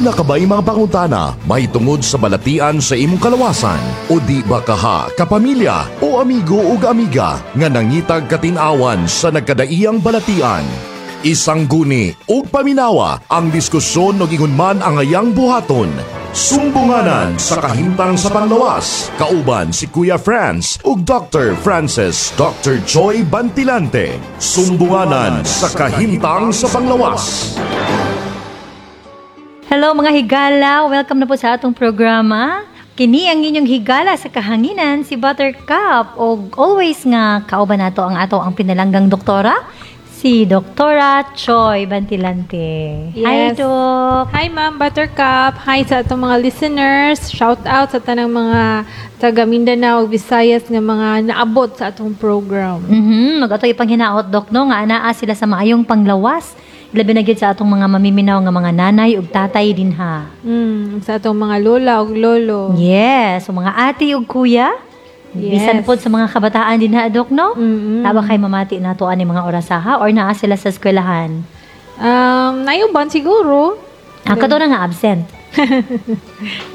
Duna ka ba'y mga pangutana mahitungod sa balatian sa imong kalawasan? O di ba kaha, kapamilya o amigo ug amiga nga nangitag katin-awan sa nagkadaiyang balatian? Isang guni ug paminawa ang diskusyon ug ingon man ang ayang buhaton. Sumbunganan sa kahimtang sa panglawas. Kauban si Kuya Franz ug Dr. Francis Dr. Joy Bantilante. Sumbunganan sa kahimtang sa panglawas. Hello, mga higala! Welcome na po sa atong programa. Kini ang inyong higala sa kahanginan, si Buttercup. O always nga kauban nato ang ato ang pinalanggang doktora, si Doktora Choi Bantilante. Hi, Yes. Dok! Hi, Ma'am Buttercup. Hi sa atong mga listeners. Shout out sa tanang mga taga Mindanao ug Visayas nga mga naabot sa atong program. Mag-ato ipanghinaot, Dok, no, nga anaa sila sa maayong panglawas. Labi na gyud sa atong mga mamiminaw nga mga nanay ug tatay dinha. Sa atong mga lola ug lolo. Yes, so mga ate ug kuya. Bisan pod sa mga kabataan dinha, Dok, no? Mm-mm. Taba kay mamati nato ani mga orasaha or naa sila sa eskwelahan? Nayuban siguro. Ang kato na nga absent,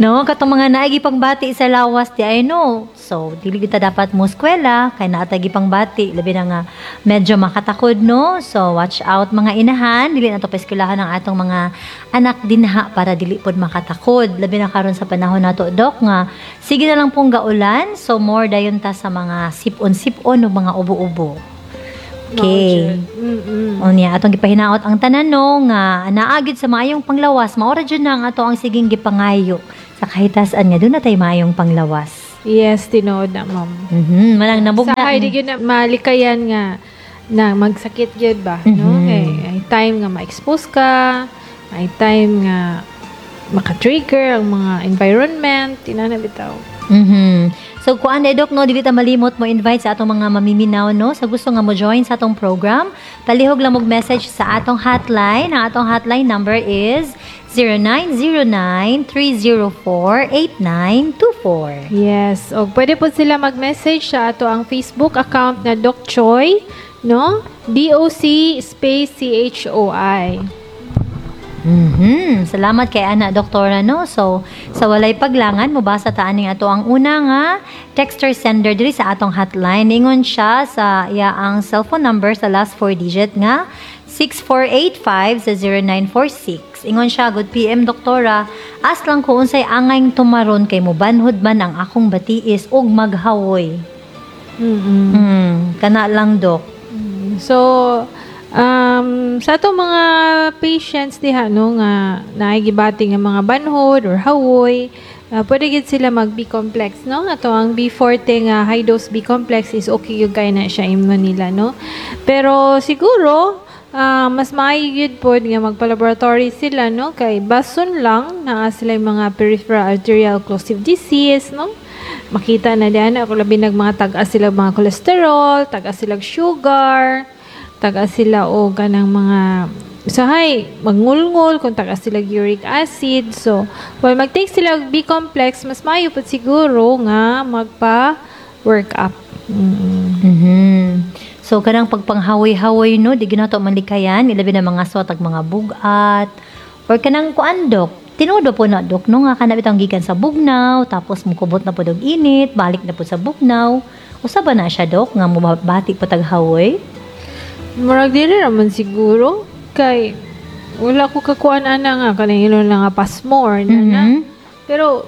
no, katong mga naigi pangbati sa lawas di ay no. So, dili kita dapat mo eskwela kay naa tay gipangbati, labi na nga medyo makatakod, no. So, watch out, mga inahan, dili na to paeskwelahan ang atong mga anak dinha para dili pod makatakod. Labi na karon sa panahon nato, Dok, nga sige na lang pong gaulan, so more dayon ta sa mga sipon-sipon o mga ubo-ubo. Okay. Unya atong gipahinaot ang tanan, no, nga naa gyud sa maayong panglawas. Mao ra jud na ang ato ang siging gipangayo sa kahitasan nga duna tay maayong panglawas. Yes, tinuod na, ma'am. Manang nabugna. Sa di gyud na malikayan nga na magsakit gyud ba, no? Kay ay time nga ma-expose ka, ay time nga maka-trigger ang mga environment, inana bitaw. So kuan eh, Dok, no, dili ta malimot mo invite sa atong mga mamiminaw, no, sa gusto nga mo join sa atong program, palihog lang og message sa atong hotline. Ang atong hotline number is 0909-304-8924. Yes, og pwede po sila mag-message sa ato ang Facebook account na Doc Choi, no? DOC space CHOI. Salamat kay ana, Doktora, no. So sa walay paglangan, mobasa ta aning ato ang una nga texter sender diri sa atong hotline. Ingon siya sa iya ang cellphone number sa last four digit nga 6485 sa 0946. Ingon siya, "Good PM, Doktora. Ask lang ko unsay angayng tumaron kay mobanhod man ang akong batiis ug maghawoy." Kana lang, Dok. So, sa atong mga patients diha, no, nga naay gibati nga mga banhod or hawoy, pwede gid sila mag B complex, no? Ato ang B40 nga high dose B complex is okay gyud kay na siya imnon nila, no? Pero siguro mas maayo gyud pod nga magpa-laboratory sila, no, kay bason lang naa sila yung mga peripheral arterial occlusive disease, no? Makita na diyan ako labi nag mga tag-as sila mga cholesterol, tag-as sila sugar, tag-as sila o kanang mga usahay mangulngol kung tag-as sila uric acid. So, while mag-take sila og B complex, mas maayo pud siguro nga magpa work up. So kanang pagpanghawoy-hawoy, no, di ginato malikayan, ilabi na mga suwat ag mga bugat or kanang kuan, Dok. Tinuod po na, Dok, no, nga kana bitang gikan sa bugnaw tapos mukubot na pud og init, balik na pud sa bugnaw. Usa ba na siya, Dok, nga mobati po tag hawoy? Murag dili raman siguro kay wala ko kakuan ana nga kanang ilon lang nga pasmo or na, na. Pero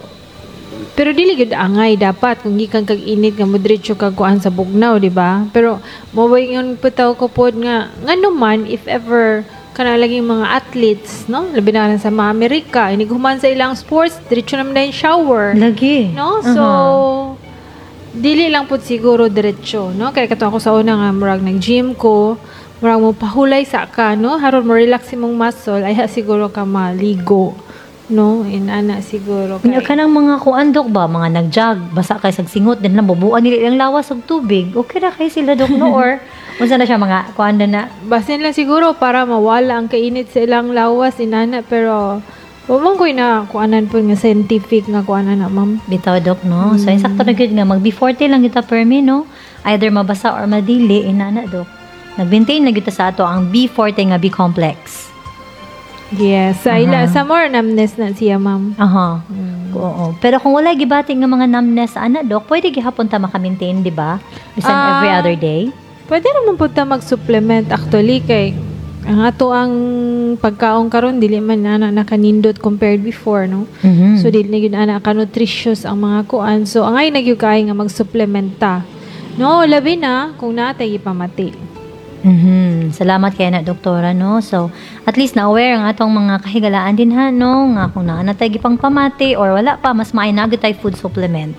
dili gyud angay dapat kung gikan kag init nga modretso kag kuan sa bugnaw, di ba? Pero mo ingon putaw ko pod nga ngano man if ever kana lagi mga athletes, no, labi na sa mga Amerika, inig human sa ilang sports, diretso naman na yung shower. Lagi. No? So dili lang pud siguro diretso, no? Kay kato ako sa una nga murag nag-gym ko, murag mo pahulay sa ka, no? Haron mo relax imong muscle, ay siguro ka maligo, no? Inana siguro Kaya kay kanang mga kuan, Dok, ba, mga nagjag, basa kay sag singot din lang bubuan nila ilang lawas og tubig. Okay ra kay sila, Dok, no, or unsa na siya mga kuan na na? Basin lang siguro para mawala ang kainit sa ilang lawas inana, pero wa man ko'y na kuanan po nga scientific nga kuanan na, ma'am. Bitaw, Dok, no? So, insakto na gyud nga mag B40 lang kita permi, no? Either mabasa or madili, inana, Dok. Nag-maintain lang gyud ta sa ato ang B40 nga B complex. Yes, sa ila sa more numbness na siya, ma'am. Aha. Oo. Pero kung wala gibati nga mga numbness ana, dok, pwede gihapon ta maka-maintain, di ba? Bisan every other day. Pwede naman po ta mag-supplement actually kay ang ato ang pagkaon karon dili man ana nakanindot compared before, no? So dili na gyud ana ka nutritious ang mga kuan. So angay na gyud kay nga mag-supplement ta. No, labi na kung naa tay gipamati. Salamat kay na, doktora, no. So at least na aware ang atong mga kahigalaan din ha, no, nga kung naa na tay gipang pamati or wala pa, mas maayo na gyud tay food supplement.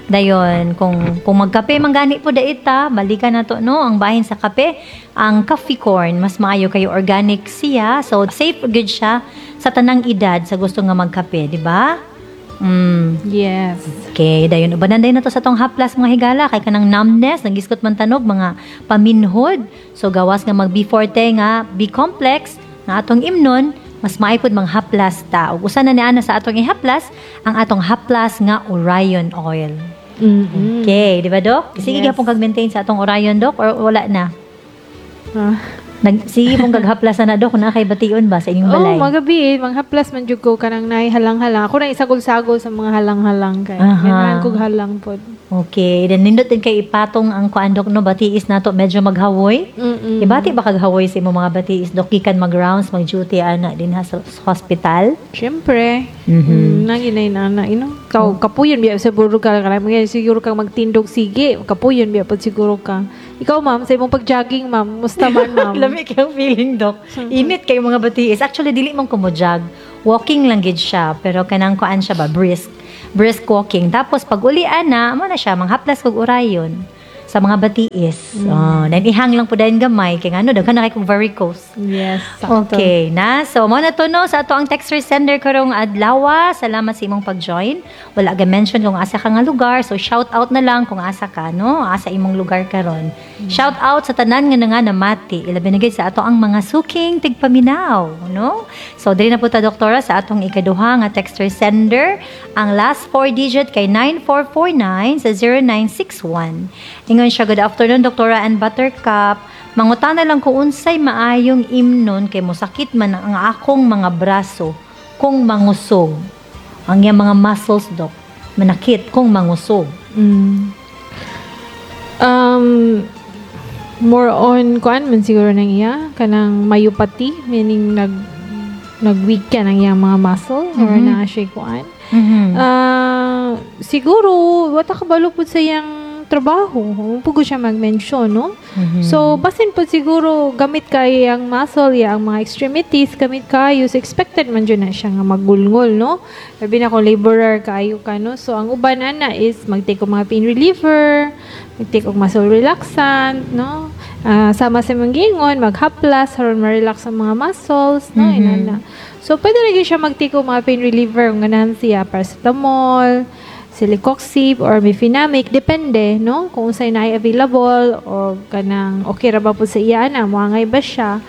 Dayon kung magkape man gani po dait ta, balikan na to, no, ang bahin sa kape, ang coffee corn, mas maayo kayo organic siya. So safe gud siya sa tanang edad sa gusto nga magkape, di ba? Yes. Okay, dayon ubanan dayon na to sa tong haplas, mga higala, kay kanang numbness, nagiskot man tanog mga paminhod. So gawas nga mag B forte nga B complex nga atong imnon, mas maayo pud manghaplas ta. Ug usa na ni ana sa atong ihaplas, ang atong haplas nga Orion oil. Okay, di ba, Dok? Sige Yes. gihapon kag maintain sa atong Orion, Dok, or wala na? Ah. Sige mong gaghaplas na, Dok, kung naa kay bation ba sa inyong Oh, balay. magabi eh, manghaplas man jud ko kanang naay halang-halang. Ako na isagol-sagol sa mga halang-halang kay ganahan kog halang pod. Okay, then nindot din kay ipatong ang kuan, Dok, no, batiis nato medyo maghawoy. Ibati ba kaghawoy sa imong mga batiis, Dok, gikan mag-rounds, mag-duty ana din ha sa hospital? Siyempre. Nang inay na na ino. Kaw kapuyon biya siguro ka kanang mga siguro kang magtindog sige, kapuyon biya pud siguro ka. Ikaw, ma'am, sa imong pag-jogging, ma'am, musta man, ma'am? Lami kayong feeling, Dok. Init kayo mga batiis. Actually, dili man ko mo jog. Walking lang gid siya, pero kanang kuan siya ba, brisk. Brisk walking. Tapos pag uli ana, mo na siya manghaplas kog Orion sa mga batiis. Oh, then ihang lang po dayon gamay kay ngano daghan na kay kog varicose. Yes, sakto. Okay na. So, mo na to, no, sa ato ang texter sender karong adlaw. Salamat sa imong pag-join. Wala ga mention kung asa ka nga lugar. So, shout out na lang kung asa ka, no? Asa imong lugar karon. Shout out sa tanan nga nga namati. Ilabi na gid sa ato ang mga suking tigpaminaw, no? So, diri na po ta, doktora, sa atong ikaduha nga texter sender. Ang last four digit kay 9449 sa 0961. Ingon siya, "Good afternoon, Doktora and Buttercup. Mangutana lang ko unsay maayong imnon kay mosakit man ang akong mga braso kung mangusog." Ang iyang mga muscles, Dok, manakit kung mangusog. More on kuan man siguro nang iya kanang myopathy, meaning nag weak ka ng iyang mga muscle or na siya kuan. Siguro wala kabalo pud sa iyang trabaho. Huwag siya mag-mention, no? So, basin po siguro gamit kay ang muscle, ya, ang mga extremities, gamit kayo. So, expected man dyan na siya nga magulngol, no? Sabi na kung laborer kayo ka, no? So, ang uban ana is mag-take og mga pain reliever, mag-take og muscle relaxant, no? Sama sa mga gingon, maghaplas, aron ma-relax ang mga muscles, no? Inana. So, pwede na gyud siya mag-take og mga pain reliever kung ganahan siya, paracetamol, celecoxib or mefenamic, depende, no? Kung unsay naay available o kanang okay ra ba po sa iya na, moangay ba siya.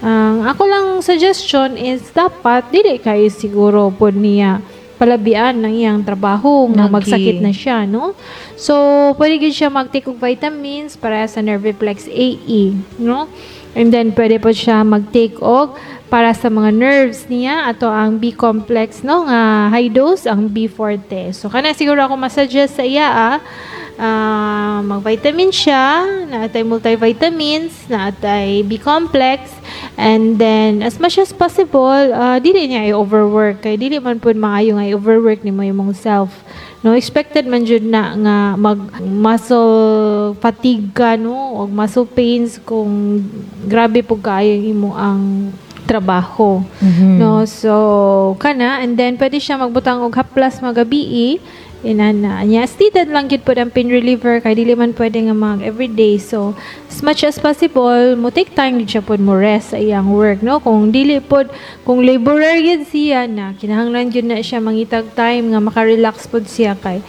Ang ako lang suggestion is dapat dili kayo siguro po niya palabian ng iyang trabaho nga Lagi. magsakit na siya, no? So, pwede gyud siya mag-take og vitamins para sa Nerviplex AE, no? And then, pwede po siya mag-take og para sa mga nerves niya, ato ang B complex, no, nga high dose, ang B forte. So, kana siguro ako masuggest sa iya, mag-vitamin siya, naatay multivitamins, naatay B complex, and then, as much as possible, dili niya i-overwork. Kay dili man pud maayo nga i-overwork nimo imong self. No, expected man jud na nga mag muscle fatigue ka, no, og muscle pains kung grabe pud kaayo imo ang trabaho. No, so kana, and then pwede siya magbutang og haplas magabi inana niya. Stated lang gyud pod ang pain reliever kay dili man pwede nga mag everyday. So as much as possible, mo take time gid siya pod mo rest sa iyang work, no? Kung dili pod, kung laborer gyud siya na kinahanglan gyud na siya mangitag time nga maka-relax pod siya kay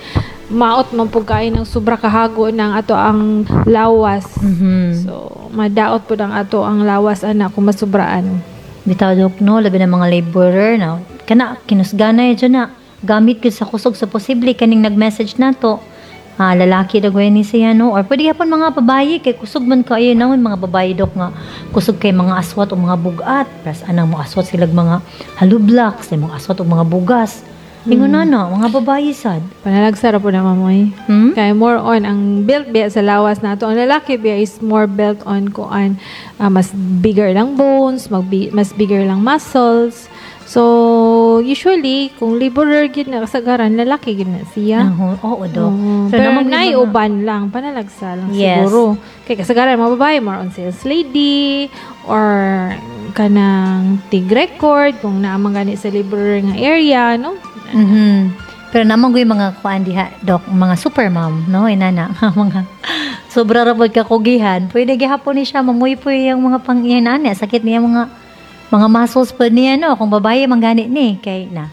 maot man pud kaayo ng sobra kahago ng ato ang lawas. So madaot pod ang ato ang lawas ana kung masubraan. Bitaw, Dok, no, labi na mga laborer na kana kinusgana dyan na gamit gyud sa kusog sa posible kaning nag-message nato. Lalaki dagoy ni siya, no, or pwede gyapon mga babaye kay kusog man kaayo naman mga babaye, dok, nga kusog kay mga aswat o mga bugat, pras anang mo aswat silag mga hollow blocks, mga aswat o mga bugas. Ingon na na, mga babaye sad. Panalagsa ra po na, mamoy. Kaya more on ang built biya sa lawas nato. Ang lalaki biya is more built on kuan, mas bigger lang bones, mas bigger lang muscles. So usually kung laborer gid na, kasagaran lalaki gid na siya. Oo, dok. Oo. So, pero namang naay uban lang, panalagsa lang siguro. Kay kasagaran mga babae more on sales lady or kanang tig record kung naa man gani sa laborer nga area, no? Pero naman ko yung mga kuan diha, dok, mga super mom, no? Inana, mga sobra ra pod kakugihan. Pwede gihapon ni siya mamuypoy yung mga pang inana, sakit niya mga muscles pod niya, no? Kung babaye man gani ni kay na.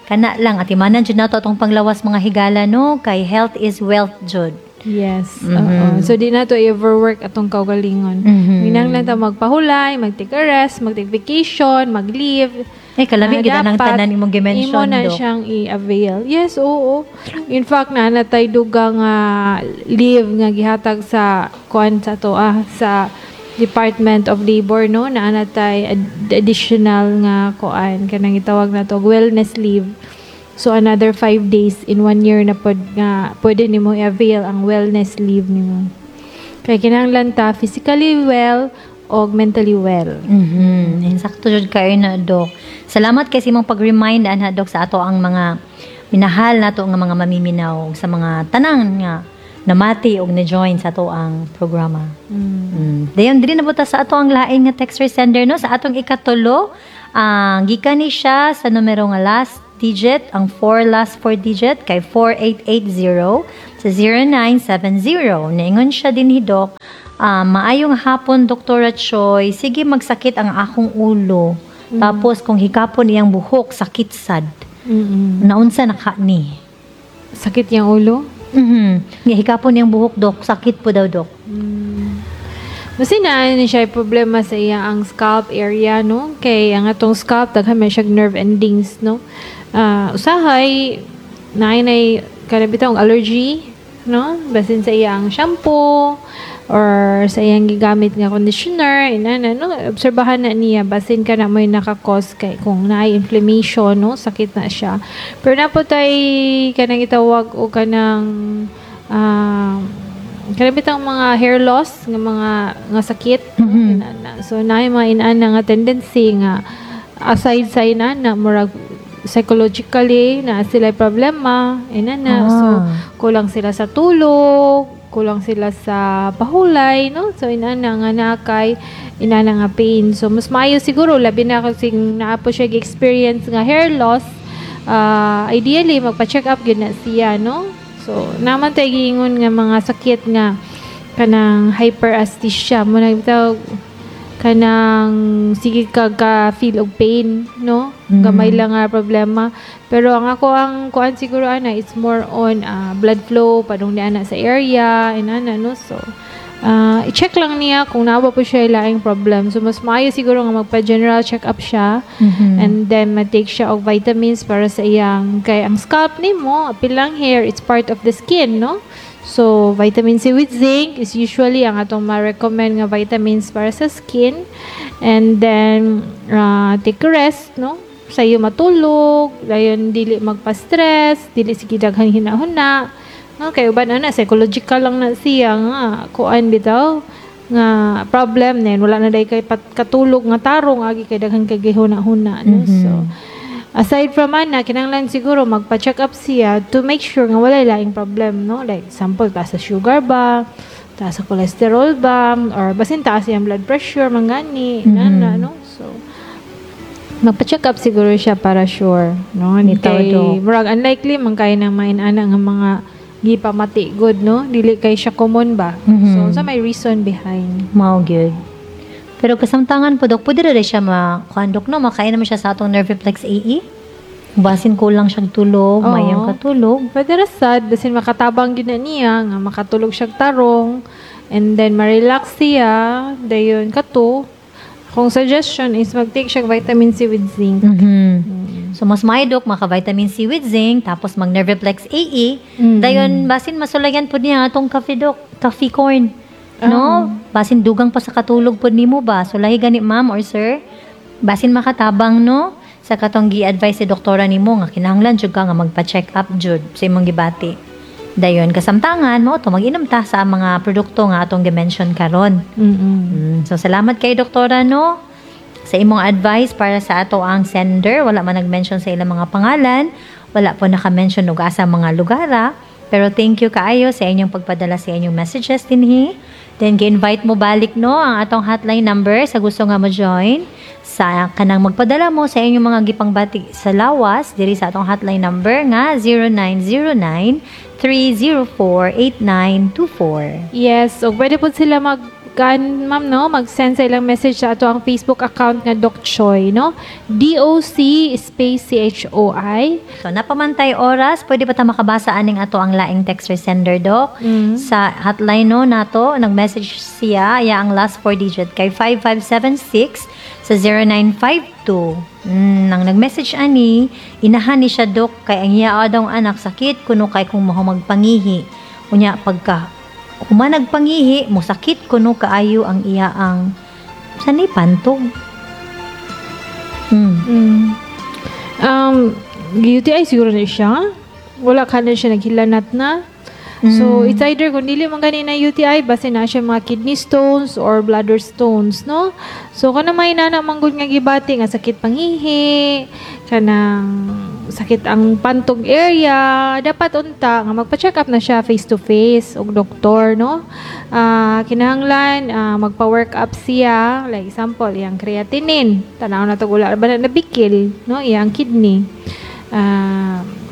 Kana lang atimanan jud nato atong panglawas, mga higala, no, kay health is wealth jud. Yes. Oo. So, di na to overwork atong kaugalingon. Minang lang ta magpahulay, mag-take a rest, mag-take vacation, mag-leave. Eh, kalami gid nang dapat tanan imong gi-mention, imo na dok. siyang i-avail. Yes, oo. In fact, na natay dugang nga leave nga gihatag sa kuan sa to sa Department of Labor, no, na natay additional nga kuan kanang gitawag na to wellness leave. So another 5 days in one year na pod nga pwede nimo i-avail ang wellness leave nimo. Kay kinahanglan ta physically well o mentally well. Insakto jud kayo na, dok. Salamat kay sa imong pag-remind anha, dok, sa ato ang mga minahal nato nga mga mamiminaw, sa mga tanan nga namati og ni-join sa ato ang programa. Dayon diri na buta sa ato ang lain nga texter sender, no, sa atong ikatulo. Ang gikan ni siya sa numero nga last digit, ang four last four digit kay 4880 sa 0970. Niingon siya din, dok, "Maayong hapon, Dr. Choi. Sige magsakit ang akong ulo. Tapos kung hikapon iyang buhok, sakit sad. Naunsa na ka ni?" Sakit yung ulo? Mhm. Nga hikapon iyang buhok, dok, sakit po daw, dok. Basta na ni siya problema sa iya ang scalp area, no? Kay ang atong scalp, daghan man siya nerve endings, no? Usahay naay nay kanang bitawng allergy, no? Basin sa iyang shampoo or sa iyang gigamit nga conditioner, inana, no? Obserbahan na niya basin kana mo'y naka-cause, kay kung naay inflammation, no, sakit na siya. Pero naa pod tay kanang itawag o kanang bitang mga hair loss nga mga nga sakit, inana. So naay mga inana nga tendency nga aside sa inana, murag psychologically na sila problema inana. So kulang sila sa tulog, kulang sila sa pahulay, no? So inana nga naa kay inana nga pain. So mas maayo siguro, labi na kasi naa po siya experience nga hair loss, ideally magpa-check up gyud na siya, no? So naman tay giingon nga mga sakit nga kanang hyperesthesia mo na bitaw, kanang sige ka feel og pain, no? Gamay lang nga problema, pero ang ako ang kuan siguro ana, it's more on blood flow padung ni ana sa area inana, no? So i-check lang niya kung naa ba po siya laing problem. So mas maayo siguro nga magpa-general check up siya and then ma-take siya og vitamins para sa iyang, kay ang scalp nimo, apil lang hair, it's part of the skin, no? So vitamin C with zinc is usually ang atong ma-recommend nga vitamins para sa skin. And then take a rest, no? Sayo matulog, dayon dili magpa-stress, dili sige daghan hinahuna, no? Kay uban ana psychological lang na siya nga kuan bitaw nga problem, then wala na day kay katulog nga tarong, agi kay daghan kay gihuna-huna, no? So aside from ana, kinahanglan siguro magpa-check up siya to make sure nga wala laing problem, no? Like example, taas sa sugar ba, taas sa cholesterol ba, or basin taas iyang blood pressure mangani na, no? So magpa-check up siguro siya para sure, no? Bitaw, Kay Dok. murag unlikely man kay nang main-ana nga mga gipamati good, no? Dili kay siya common ba. So sa may reason behind. Mao gyud. Pero kasamtangan po, dok, pwede rin siya ma kuan, dok, no, makain naman siya sa atong Nerviplex AE. Basin kulang siyang tulog, Oo. mayang katulog. Pwede ra sad, basin makatabang gyud na niya nga makatulog siya tarong and then ma-relax siya, dayon kato. Kung suggestion is mag-take siya vitamin C with zinc. So mas maayo, Dok, maka vitamin C with zinc tapos mag Nerviplex AE. Dayon basin masulayan pud niya atong coffee, Dok, coffee corn. No? Basin dugang pa sa katulog pud nimo ba? Sulahi gani, ma'am or sir. Basin makatabang, no? Sa katong gi-advise si doktora nimo nga kinahanglan jud ka nga magpa-check up jud sa imong gibati. Dayon kasamtangan mo to mag-inom ta sa mga produkto nga atong gi-mention karon. So salamat kay doktora, no, sa imong advice para sa ato ang sender. Wala man nag-mention sa ilang mga pangalan, wala po naka-mention og asa mga lugara, pero thank you kaayo sa inyong pagpadala sa inyong messages dinhi. Then gi-invite mo balik, no, ang atong hotline number sa gusto nga mo join sa kanang magpadala mo sa inyong mga gipangbati sa lawas diri sa atong hotline number nga 0909 304 8924. Yes, so pwede po sila mag kan ma'am, no, mag-send sa ilang message sa ato ang Facebook account nga Doc Choi, no, DOC space CHOI. So napamantay oras, pwede ba ta makabasa aning ato ang laing text or sender, Doc? Sa hotline, no, nato, nag-message siya, ya ang last four digit kay 5576 sa 0952. Nang nag-message ani, inahan ni siya, Dok, kay ang iya adong anak sakit kuno kay kung maho magpangihi. Unya pagka human nagpangihi, mo sakit kuno kaayo ang iya ang sa ni pantog. UTI siguro na siya. Wala ka na siya naghilanat na. So, it's either kung dili man gani na UTI, basta na siya mga kidney stones or bladder stones, no? So, kana may nana manggod nga gibati nga sakit pangihi, kanang sakit ang pantog area, dapat unta nga magpa-check up na siya face to face og doktor, no? Kinahanglan magpa-work up siya, like example, iyang creatinine, tanaw na to wala ba na nabikil, no? Iyang kidney.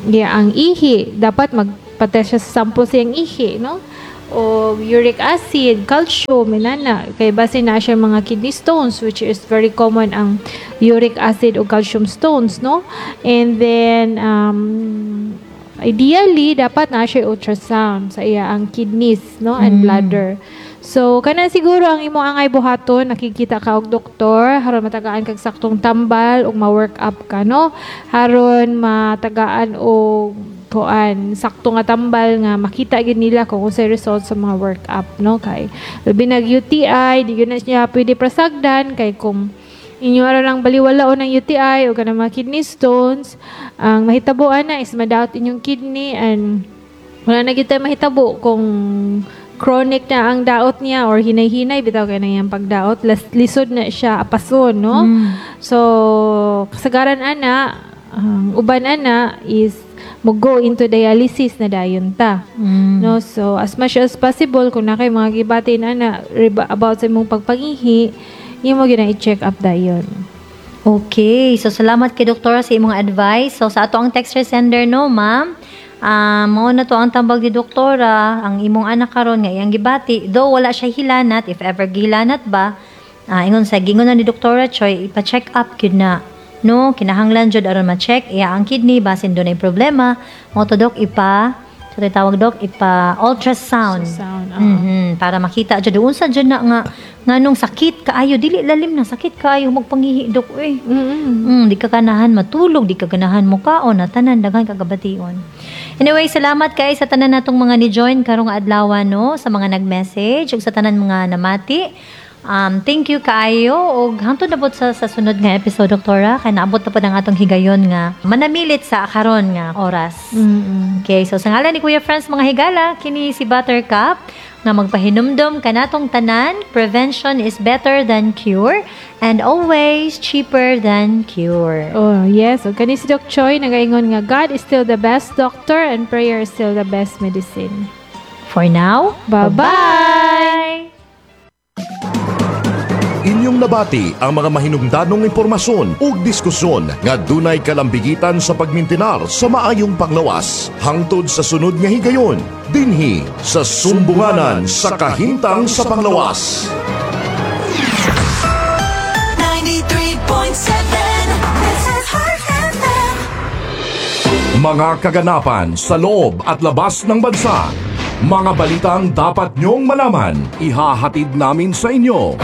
Iya ang ihi, dapat magpa-test siya sa sample sa iyang ihi, no? O uric acid, calcium, inana. Kay base na siya mga kidney stones, which is very common ang uric acid o calcium stones, no? And then, ideally, dapat na siya ultrasound sa iya ang kidneys, no? And bladder. So, kana siguro ang imo angay buhaton, nakikita ka og doktor, haron matagaan kag saktong tambal ug ma-work up ka, no? Haron matagaan og kuan sakto nga tambal nga makita gid nila kung unsay result sa mga work up, no? Kay labi nag UTI, di gyud na siya pwede prasagdan kay kung inyo ara lang baliwalaon ng UTI o kanang mga kidney stones, ang mahitabuan na is madaot inyong kidney and wala na gyud tay mahitabo kung chronic na ang daot niya or hinay-hinay bitaw kay na iyang pagdaot, lisod na siya apason, no? So kasagaran ana, ang uban ana is mo go into dialysis na dayon ta, no? So as much as possible, kung na kay mga gibati na about sa imong pagpangihi, imo gyud na i-check up dayon. Okay. So, salamat kay Doktora sa imong advice. So, sa ato ang text sender, no, ma'am? Mao na to ang tambag ni Doktora, ang imong anak karon nga iyang gibati. Though wala siya hilanat, if ever gihilanat ba, ingon sa gingon na ni Doktora Choi, ipa-check up gyud na. No, kinahanglan jud aron ma-check iya ang kidney basin dunay problema. Mo to, Dok, ipa so tawag, Dok, ipa ultrasound. Ultrasound, oo. Para makita jud unsa jud na nga nganong sakit kaayo, dili lalim na sakit kaayo magpangihi, Dok, eh. Di ka ganahan matulog, di ka ganahan mukaon, na tanan daghan kagabation. Anyway, salamat kay sa tanan natong mga ni-join karong adlaw, no, sa mga nag-message ug sa tanan mga namati. Thank you kaayo ug hangtod na pod sa sunod nga episode, Doktora, kay naabot na pod ang atong higayon nga manamilit sa karon nga oras. Okay, so sa ngalan ni Kuya Franz, mga higala, kini si Buttercup nga magpahinumdom kanatong tanan, prevention is better than cure and always cheaper than cure. Oh, yes. O kani si Doc Choi nagaingon nga God is still the best doctor and prayer is still the best medicine. For now, Bye-bye! Bye! Inyong nabati ang mga mahinungdanong impormasyon ug diskusyon nga dunay kalambigitan sa pagmintinar sa maayong panglawas. Hangtod sa sunod nga higayon, dinhi sa Sumbunganan sa Kahimtang sa Panglawas. 93.7. This is Heart FM. Mga kaganapan sa loob at labas ng bansa. Mga balitang dapat nyong malaman, ihahatid namin sa inyo.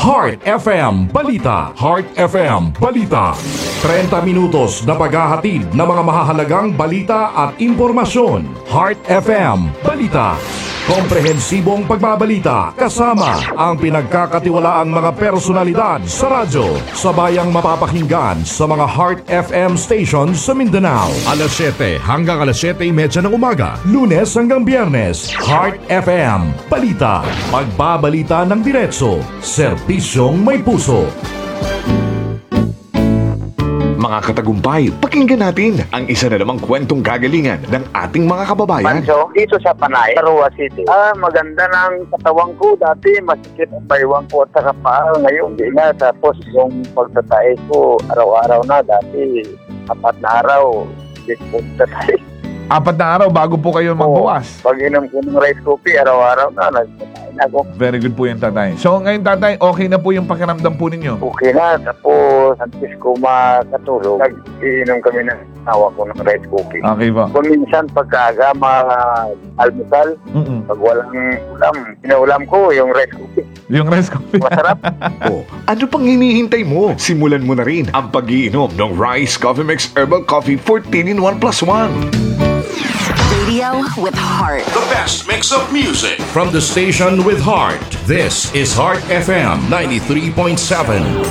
Heart FM Balita. Heart FM Balita. 30 minutos na paghahatid ng mga mahahalagang balita at impormasyon. Heart FM Balita. Komprehensibong pagbabalita kasama ang pinagkakatiwalaang mga personalidad sa radyo sa bayang mapapakinggan sa mga Heart FM stations sa Mindanao. Alas 7 hanggang alas 7:30 ng umaga, Lunes hanggang Biyernes. Heart FM Balita. Pagbabalita ng diretso, serbisyong may puso. Mga katagumpay, pakinggan natin ang isa na namang kwentong kagalingan ng ating mga kababayan. Pancho, dito sa Panay, Roa City. Ah, maganda ng katawan ko. Dati, masikip ang baywang ko at saka paa. Ngayon, di na. Tapos, yung pagtatae ko, araw-araw na. Dati, 4 na araw, hindi ko pagtatae. 4 na araw bago po kayo magbawas. Pag inom ko ng rice coffee, araw-araw na, nagtatae na ako. Very good po yan, tatay. So ngayon, tatay, okay na po yung pakiramdam po ninyo? Okay na. Tapos, antes ko makatulog, nag-iinom kami ng asawa ko ng rice coffee. Okay po. Kung minsan, pagkaaga, mag-almusal, pag walang ulam, pinaulam ko yung rice coffee. Yung rice coffee. Masarap. O, ano pang hinihintay mo? Simulan mo na rin ang pag-iinom ng Rice Coffee Mix Herbal Coffee 14 in 1 plus 1. Radio with heart. The best mix of music from the station with heart. This is Heart FM 93.7.